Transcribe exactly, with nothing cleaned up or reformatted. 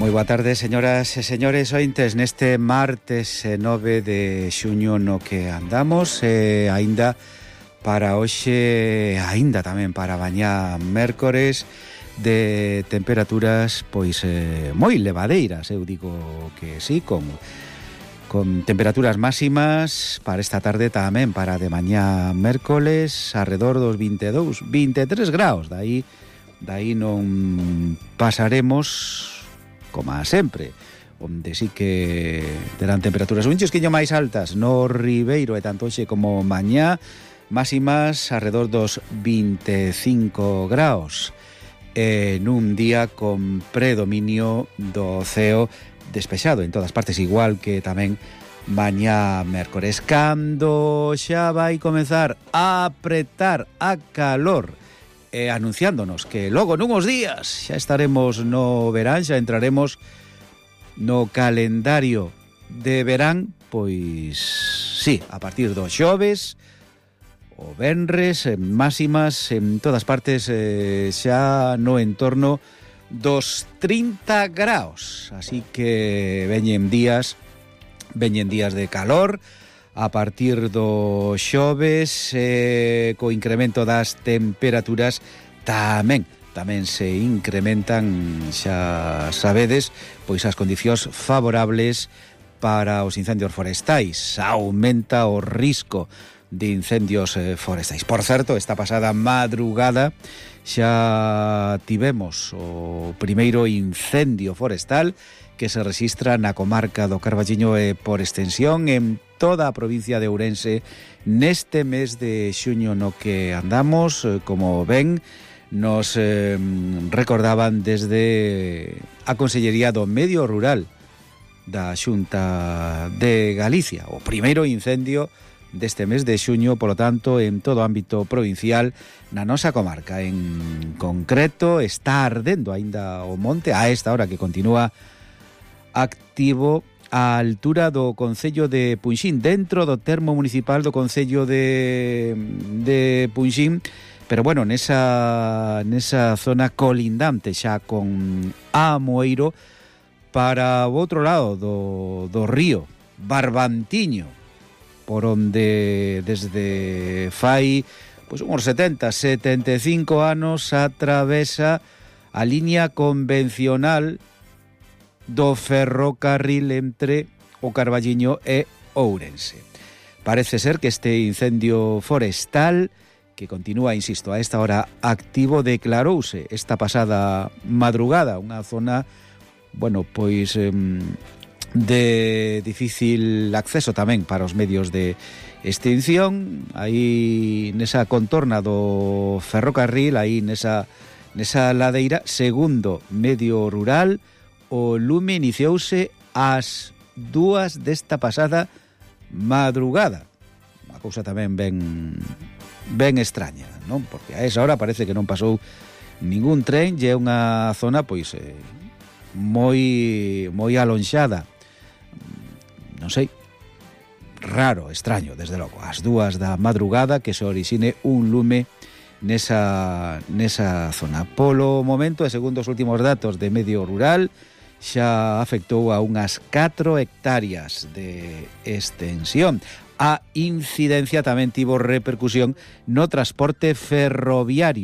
Moi boa tarde, señoras e señores ointes, neste martes nove de xuño no que andamos, e aínda para hoxe, aínda tamén para mañá mércores, de temperaturas pois eh, moi levadeiras, eu digo que sí, con con temperaturas máximas para esta tarde tamén para de mañá mércoles arredor dos vinte e dous, vinte e tres graus, dai dai non pasaremos como sempre, onde sí que terán temperaturas un chisquiño máis altas no Ribeiro e tanto hoxe como mañá, máximas arredor dos vinte e cinco graus, en un día con predominio do ceo despexado en todas partes, igual que tamén mañá mércores, cando xa vai comezar a apretar a calor, e anunciándonos que logo nunhos días xa estaremos no verán, xa entraremos no calendario de verán, pois sí, a partir do xoves o venres, en máximas en todas partes eh, xa no entorno dos trinta graus, así que veñen días veñen días de calor a partir do xoves, eh, co incremento das temperaturas tamén tamén se incrementan, xa sabedes, pois as condicións favorables para os incendios forestais, aumenta o risco de incendios eh, forestais. Por certo, esta pasada madrugada xa tivemos o primeiro incendio forestal que se rexistra na comarca do Carballiño e por extensión en toda a provincia de Ourense neste mes de xuño no que andamos. Como ven, nos eh, recordaban desde a Consellería do Medio Rural da Xunta de Galicia o primeiro incendio deste mes de xuño, polo tanto, en todo o ámbito provincial na nosa comarca. En concreto, está ardendo aínda o monte a esta hora que continúa activo á altura do concello de Punxín, dentro do termo municipal do concello de, de Punxín, pero bueno, nesa, nesa zona colindante xa con Amoeiro, para o outro lado do, do río Barbantiño, por onde desde fai pois uns setenta, setenta e cinco anos atravesa a liña convencional do ferrocarril entre o Carballiño e Ourense. Parece ser que este incendio forestal, que continúa, insisto, a esta hora activo, declarouse esta pasada madrugada, unha zona, bueno, pois eh, de difícil acceso tamén para os medios de extinción, aí nesa contorna do ferrocarril, aí nesa, nesa ladeira, segundo medio rural, o lume iniciouse ás dúas desta pasada madrugada. Unha cousa tamén ben ben extraña, non? Porque a esa hora parece que non pasou ningún tren, e é unha zona pois eh, moi moi alonxada. Non sei, raro, extraño, desde logo, ás dúas da madrugada que se orixine un lume nesa nesa zona. Polo momento, e segundo os últimos datos de medio rural, xa afectou a unhas catro hectáreas de extensión. A incidencia tamén tivo repercusión no transporte ferroviario.